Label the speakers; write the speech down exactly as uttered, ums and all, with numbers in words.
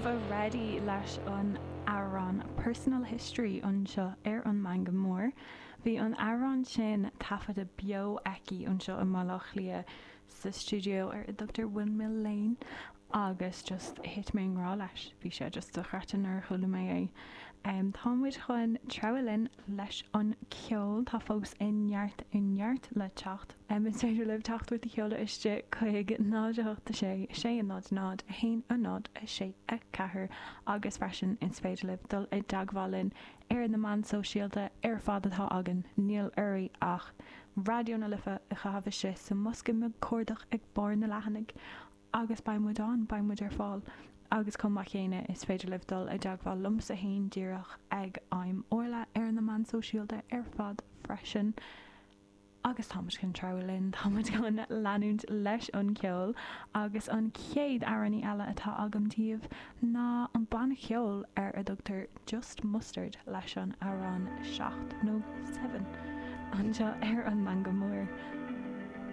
Speaker 1: Nova Reddy leis an amhrán Personal History anseo ar an Meangadh Mór. Bhí an amhrán sin taifeadta beo aici anseo i mBaile Átha Cliath sa stiúideo ar a dtugtar Windmill Lane agus just thit mé i ngrá leis. Bhí sé just dochreidte nuair a chuala mé é. Um, tá muid chun treabhadh linn leis an ceol tá fós i neart i neart le teacht. Um, is féidir libh teachtaireacht a sheoladh isteach chuig náid a sé sé náid náid a haon a náid a sé a ceathair agus freisin is féidir libh dul i dteagmháil linn ar na meáin sóisialta ar fad atá againn níl oraibh ach Raidió na Life a chaitheamh isteach sa mbosca beag cuardaigh ag barr na leathanaigh agus beidh muid ann beidh muid ar fáil. agus chomh maith céanna is féidir libh dul i dteagmháil liomsa féin díreach ag I'm Orla ar na meáin sóisialta ar fad freisin. Agus táimid chun treabhadh linn táimid chun leanúint leis an ceol agus an chéad amhránaí eile atá agam daoibh ná an banna ceoil ar a dtugtar Just Mustard leis an amhrán seacht nó seven anseo ar an Meangadh Mór.